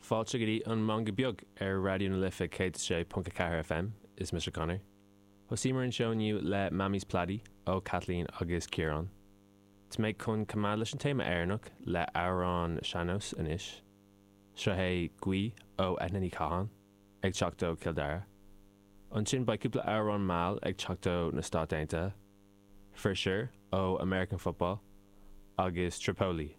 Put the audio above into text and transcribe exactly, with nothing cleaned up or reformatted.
Fáilte go dtí an Meangadh Beag ar Raidió na Life céad sé ponc a ceathair FM is mise Conor. Thosaíomar an seó inniu le Mammy's Plaidie ó Kathleen agus Ciarán. Tá mé chun coimeád leis an téama Éireannach le amhrán sean-nós anois. Seo é Guí ó Eithne Ní Catháin ag teacht ó Chill Dara. Ansin beidh cúpla amhrán mall ag teacht ó na Stáit Aontaithe, For Sure ó American Football agus Tripoli